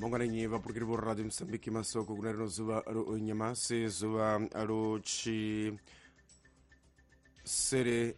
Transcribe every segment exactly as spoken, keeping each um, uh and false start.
Monganenyi vapurukiri vo Radio Mosambiki masoko kuna rino zuva ro nyamasi zuva ro chi sere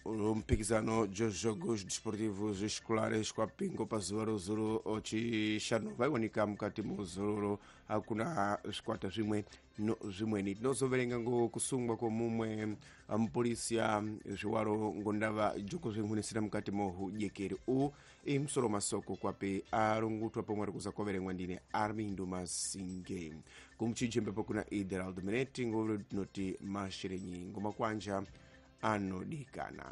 mpikizano jo jogos desportivos escolares kwa pingo pa zuva ro zuro chishanu vaiwanika mukati muzororo hakuna zvikwata zvimwe no zvimweni. Tinozoverenga ngo kusungwa kwomumwe mupolisia zviwaro ngondava jokuzvinhunisira mukati mohudyekeri u imusoro masoko kwape arungutwa pomwe ari kuza kwaverengwa ndine Armindo Masinge kumuchijembepo kuna Ideraldo Meneti ngo tinoti masherenyi ngomakwanja anodikana.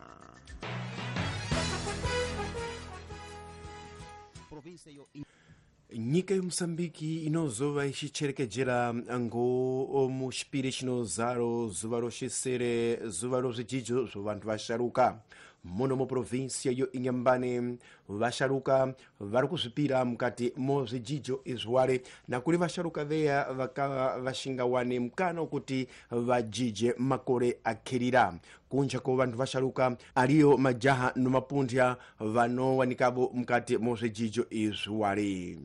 Nyika yeMosambiki inozova ichicherekejera ngo muchipiri chinozaro zuva roxisere zuva rozvijidzo zvo vantu vasharuka muno muprovinsia yo Inhambane. Vasharuka vari kuzvipira mukati mozvijidzo izviware nakuri vasharuka veya vakava vashingawane mukana wekuti vajije makore akhirira. Kunja ko vantu vasharuka ariyo majaha nomapundya vanowanikavo mukati mozvijidzo izviware.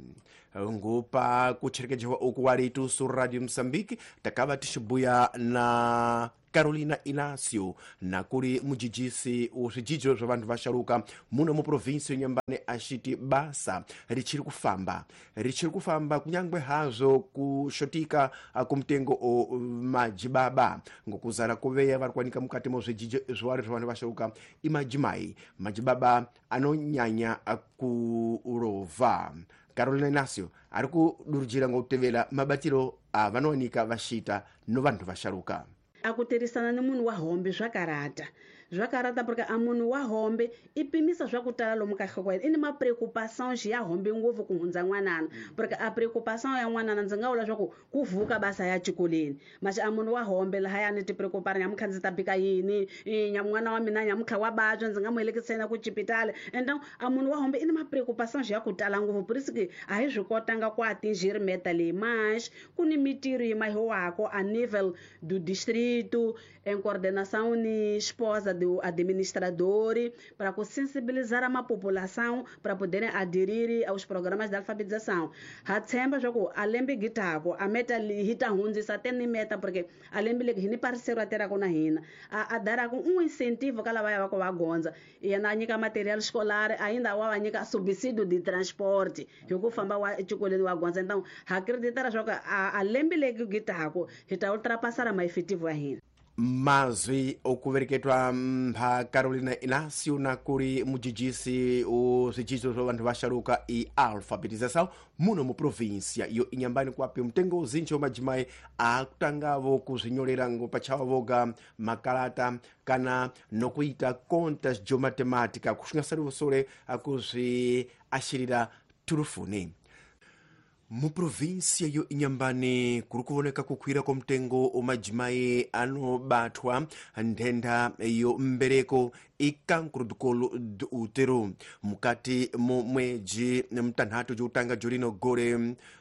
Ngopa kucherekejewa uku wari itusu Radio Mosambiki takava tichibuya na Carolina Inácio nakuri mujijisi uzvijidzo zva vantu vasharuka muno muprovinsi yeNyambane achiti basa richiri kufamba richiri kufamba kunyangwe hazvo kushotika kumutengo o majibaba ngokuzara kuveya vari kuwanika mukati mozvijidzo zviwari zva vantu vasharuka imajimai majibaba anonyanya kurovha. Carolina Inácio ari kudurujira ngokutevera mabatiro avanowanika vashita no vantu vasharuka. Akutirhisana ni munhu wa hombe swa karata swa karata porque a munhu wa hombe i pimisa swa ku tala lomu ka nhloko ya yena i ni ma-preocupações ya hombe ngopfu ku hundza n'wanana porque a preocupação ya n'wanana ndzi nga vula swa ku ku vuka basa ya xikolweni maxi a munhu wa hombe lahayani ti-preocupar nyamuntlha ndzi ta bika yini n'wana wa mina nyamuntlha wa vabya ndzi nga mu helekiseni ku xipitali and a munhu wa hombe i ni ma-preocupações ya ku tala ngopfu purisiki a hi swi kotanga ku atingir meta leyi mas ku ni mitirho yi mahiwako a nível do distrito em coordenação ni esposa do administrador para sensibilizar a população para poderem aderir aos programas de alfabetização. Ha tshemba swa ku a lembe gitako a meta hi ta hundzisa ten meta porque a lembe leki hi ni parceiro a tirhaka na hina a, a daraka um incentivo ka lavaya va ku va gondza yena a nyika material escolar ainda wa va nyika subsídio de transporte hi ku famba wa exikolweni wa gondza. Então ha acreditara swa ku a, a lembe leki gitako hi ta ultrapassar ma efetivo ya hina. Mazwi okuvereketwa mpha Carolina Inácio nakuri mujijisi uzvijidzo zva vantu vasharuka i alfabetização muno muprovinsia iyo Inhambane kwapi mutengo uzinji wemajimai akutangavo kuzvinyorera ngo pachavo voga makalata kana nokuita contas de matemática kushingasari akuzviashirira turufuni. Muprovinsia yo Inhambane kuri kuvoneka kukwira kwomutengo omajimai anobatwa nthenda yo mbereko icancro do colo do útero mukati mo mwedzi mtanhatu jotanga jorino gore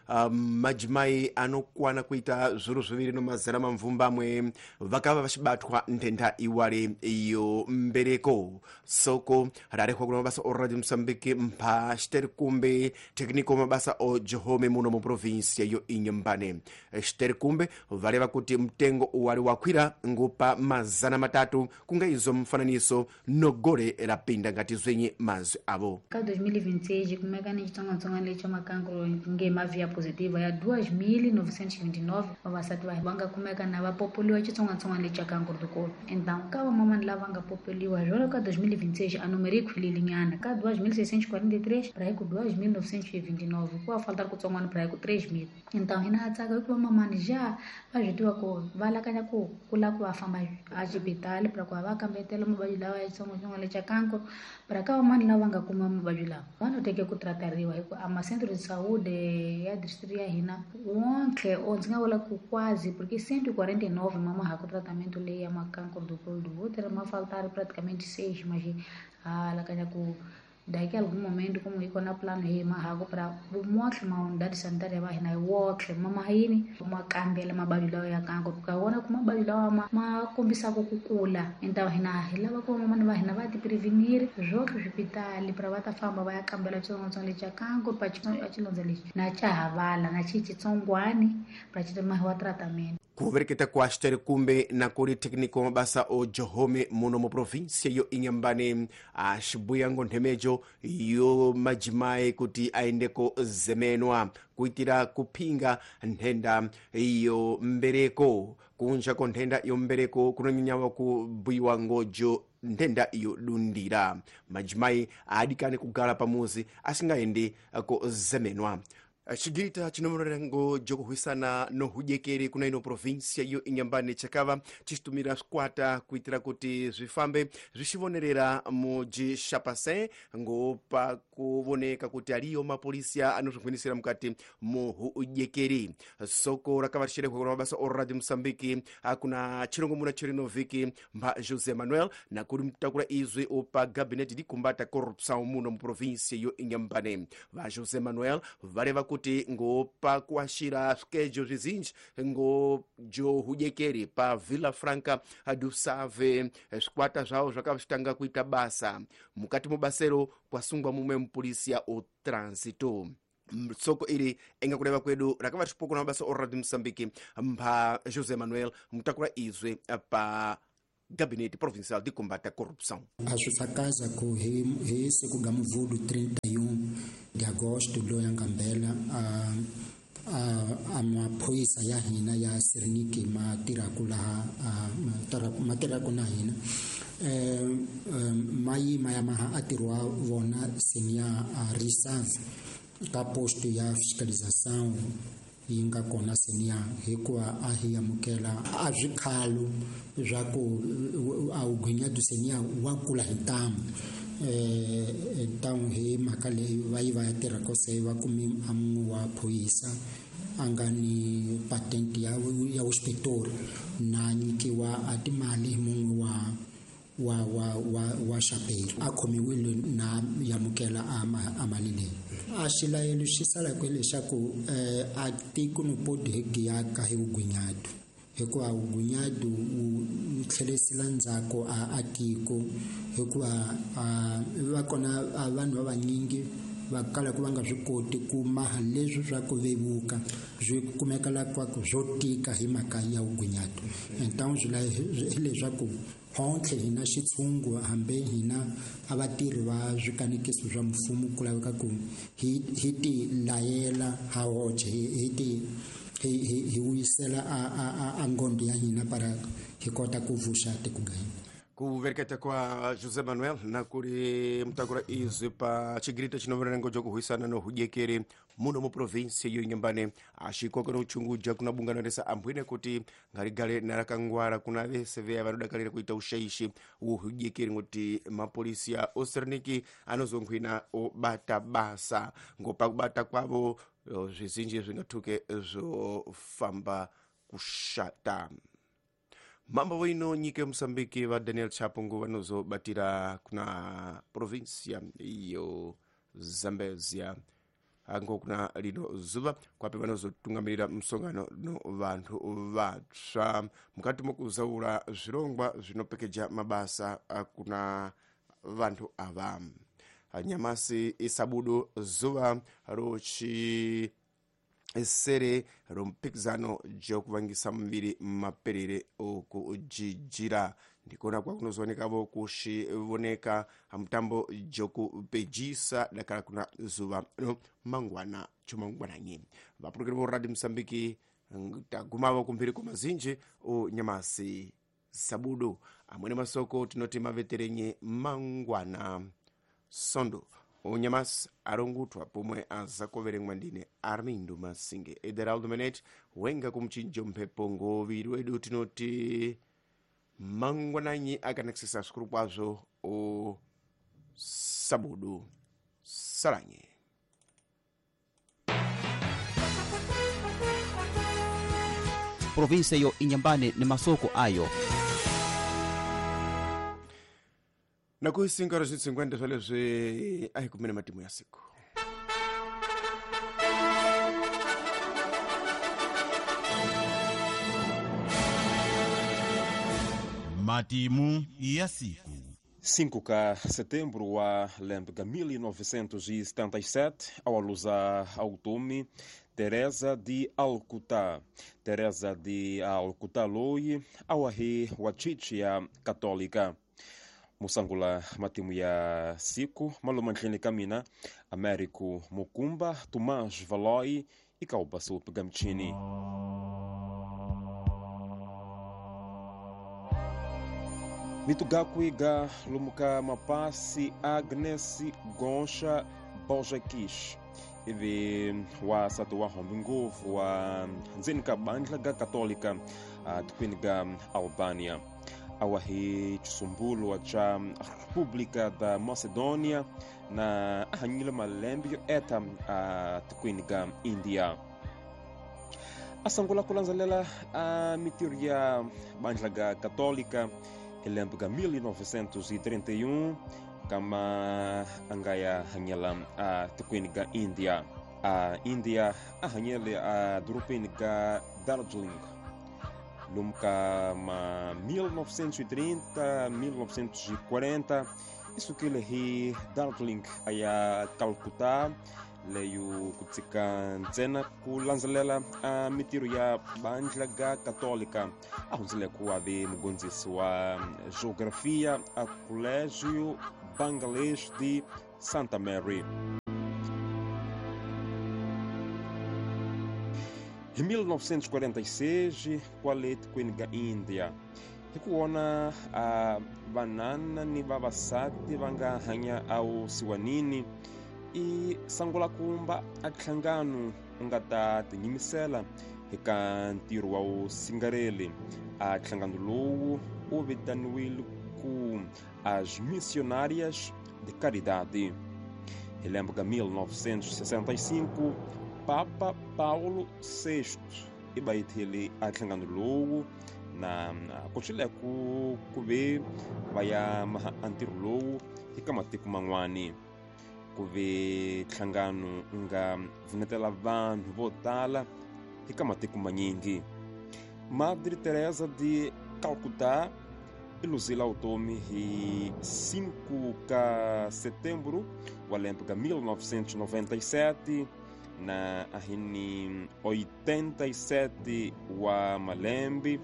uh, majimai anokwana kuita zviro zviviri no mazana mamvumbamwe vakava vachibatwa nthenda iwale yo mbereko. Soko rarehwa kuna mabasa o Radio Mosambiki mpha Xterikumbe técnico mabasa o jehome muno muprovinsia yo Inhambane. Xterikumbe vareva kuti mtengo uwali wakwira ngupa mazana matatu kunga izo mfananiso nogore rapinda ngati zwenye mazwi avo. Ka dois mil e vinte e seis kumeka ni xitsongwatsongwana lexi xa makankro nge mavia positiva ya duas mil novecentos e vinte e nove vavasati va va nga kumeka na va popoliwa xitsongwatsongwana lexi xa cancro do colo. Então ka vamamani lava nga popoliwa jolo ka dois mil e vinte e seis a número yi khwilile nyana ka duas mil seiscentos e quarenta e três pra ku duas mil novecentos e vinte e nove ku va faltar kutsongwana pra ku três mil. Então hina ha tsaka hikuva mamani ja va swi tiva ku va lakanya ku ku lava ku va famba a xibitali pra ku va va kambetela mavabyi lawa ya xitsongwatsongwana lexa cancro para ka vamani lava nga kuma mavabyi lawa va no teke ku tratariwa hi ku a ma-centro de saúde ya distrito ya hina wonke o ndzi nga vula ku quase porque cento e quarenta e nove mama ha ku tratamento leyi ya ma-cancro do colo do útero ma faltar praticamente seis mas ha lakanya ku Daqui a algum momento, como iko na plano hi mahago para motlhe ma unidade sanitária va hina hi wotlhe ma mahini ma kambela mabavyi lawa ya kanko ka wona ku mabavyi lawa ma ma kombisaka ku kula então hina hi lava ku vamamani va hina va ti prevenir swotlhe swipitali para va ta famba va ya kambela xitsongwatsongwana lexi xa kanko pa xilondza lexi na xa havala na xi xitsongwani para xi mahiwa tratamento. Kuvereketa kwa xiteri kumbe na kuli técnico mabasa o johome muno mu província yo Inhambane axibuya ngo nthemejo yo majimayi kuti aendeko zemenwa kuitira kuphinga nthenda yo mbereko. Kunja ko nthenda yo mbereko kunonyanyawa kubuyiwa ngojo nthenda iyo dundira. Majimayi adikane kugala pamuzi asingaende ko zemenwa. Xigita chinomurengo jokuhwisana nohudyekeri kuna ino província yo Inhambane chakava chichitumira swikwata kuitira kuti zwifambe zwixivonerera muji Xapacin ngopa kuvoneka kuti aliyo mapolisia anozvinghwinisira mukati muhudyekeri. Soko rakava rixerehwa kuna mabasa o Radio Moçambique kuna chirongomuna chirino vhiki mba José Manuel na kuri mutakura izwi opa gabinete di combate à corrupção muno mu província yo Inhambane. Va José Manuel vareva kuti ngopa kuashira swikejo zvizinji ngojo hudyekeri pa Vila Franca do Save swikwata zvavo zvakavitanga kuita basa mukati mubasero kwasungwa mumwe mupolisia o trânsito. Soko iri enga kureva kwedu rakava rixipoko na mabasa o Radio Moçambique mba José Manuel mutakura izwe pa Gabinete Provincial de Combate à Corrupção. A swi ku hi hi siku ga Mvudu trinta e um de agosto loyi a ngambela a a a maphorisa ya hina ya Serniki ma tirhaku laha ma tirhaku na hina eh ma yima ya maha a tirhiwa vona senior a reserve ka posto ya fiscalização yi nga kona senior hikuva a hi amukela a swikhalo swa ku a wu gwinyadu senior wa kula hi ntamu eh ntamu hi mhaka leyi va yi va ya tirha kose va kumi a mun'we wa phorisa a nga ni patent ya ya inspector na nyikiwa a timali hi mun'we wa wa wa wa wa xaperi a khomiwile na yamukela a a mali leyi. A xilayelo xi sala ku leswaku eh a tiko no podi hi giyaka hi vugwinyadu hikuva vugwinyadu wu tlherisela ndzhaku a a tiko hikuva va kona vanhu va vanyingi va kala ku va nga swi koti ku maha leswi swa ku vevuka swi kumeka la kwa ku swo tika hi mhaka ya vugwinyadu. Então swi hileswaku hontlhe hina xitshungu hambi hina a vatirhi va swikanekiso swa mfumo ku laveka ku hi hi ti layela ha hoxe hi ti hi hi hi vuyisela a a a ngondo ya hina para hi kota ku vuxa tiko ga hina. Kuvereketa kwa José Manuel na kuri mutakura izwi pa chigirita chinoverengo jokuhwisana nohudyekeri muno mu província yo Inhambane axikoko nochunguja kuna bungano resa ambwine kuti ngarigale narakangwara kuna vese veya vanodakarira kuita ushaishi uhudyekeri ngoti mapolisia oserniki anozonghwina obata basa ngopa kubata kwavo zvizinji zvingathuke zvofamba kushata. Mambo wino nyika Mosambiki va Daniel Chapo ngo vanozobatira kuna província iyo Zambezia ango kuna lino zuva kwapi vanozotungamirira musongano no vanthu vatsva mukati mokuzaura zvirongwa zvinopekeja mabasa kuna vanthu ava. Nyamasi isabudu zuva rochi sere rompikizano jokuvangisa muviri maperere okujijira ndikona kwakunozoonekavo kuxivoneka mutambo jokupejisa dakala kuna zuva no mangwana chomangwananyi vapurukiri vo Radio Mosambiki tagumavo kumphiri kwa mazinji o nyamasi sabudu amwene masoko tinoti maveterenye mangwana sondo unyamasi arongutwa pomwe azakoverengwa ndine Armindo Masinge Ederaldo Menet wenga kumchinjo mphepo ngoviri wedu tinoti mangwananyi akanakisisa svikuru kwazvo o sabudu salanye. Província yo Inhambane ni masoko ayo. Nako cinco horas e cinquenta swa leswi a hi kumeni matimu ya siku. Matimu ya siku. cinco de setembro wa lembe ga mil novecentos e setenta e sete, ao alusa automi Teresa de Alcutá. Teresa de Alcutá loi awahi wachichia católica. Musangula matimu ya siku malumandlini kamina Américo Mukumba, Tomás Valoi e Kaubasu Gamchini. Mitugakui ga lumuka mapasi Agnes Goncha Bojakish ivi wa satu wa hombi nguvu wa ndzeni ka bandla ga Católica tukwini ga Albania. Awahi chisumbulo cha República da Macedônia na ahanyile malembe yo eta tukwini ga India. Asangula kulanzalela a mitiro ya bandla ga Católica lembe ga mil novecentos e trinta e um kama angaya hanyela a tukwini ga India. A India ahanyele a durupini ga Darjeeling. Lumka ma mil novecentos e trinta, mil novecentos e quarenta, isso que ele hi Darjeeling aya Calcutá leio kutsika ntsena kulanzelela a mitiro ya bandla ga Católica. Ahunzile ku ave mugondzisi wa geografia a Colégio Bangladesh de Santa Mary. Em mil novecentos e quarenta e seis, kwale tikweni ga India hikuona a vanana ni vavasati va nga hanya awusiwanini i sangula kumba a nhlangano u nga ta tinyimisela eka ntirho wa vusingareli. A nhlangano lowu wu vitaniwile ku as Missionárias de Caridade. Hi lembe ka mil novecentos e sessenta e cinco, Papa Paulo sexto i bayithele a nhlangano lowu na ku ku ku ve va ya maha a ntirho lowu eka matiko man'wani. Ku ve nhlangano nga pfunetela vanhu vo tala eka matiko manyingi. Madre Teresa de Calcutá i luzile vutomi hi cinco de setembro wa lembe ka mil novecentos e noventa e sete na ahini oitenta e sete wa malembe.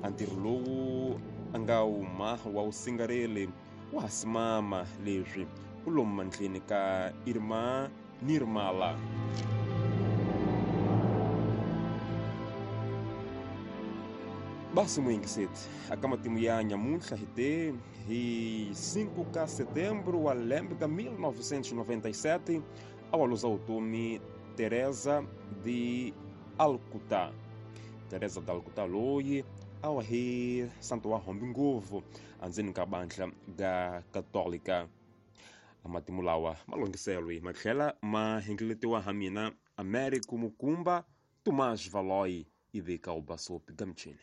Ntirho lowu a nga wuma wa wusingareli wa hasimama leswi u lomu mandleni ka Irma Nirmala. Basi muyingiseti aka matimu ya nyamuntlha hi te hi cinco de setembro wa lembe ka mil novecentos e noventa e sete a wa luza vutomi Teresa de Alcutá. Teresa de Alcutá loyi a wa hi santo wa hombi ngopfu andzeni ka bandla ga Católica. Matimu lawa ma longhiselwe ma tlhela ma hengeletiwa ha mina Américo Mukumba, Tomás Valoi ivi ka Ubasopi Gamchini.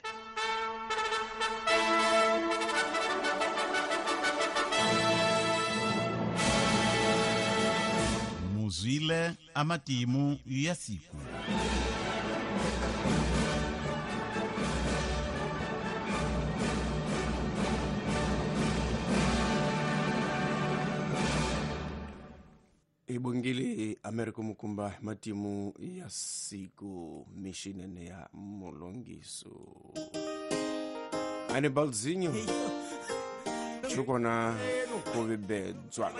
Muzwile amatimu ya siku. Ibongile Americo Mukumba matimu ya siku mishinene ya mulongiso. Anibalzinho chukona kuvibedzwa.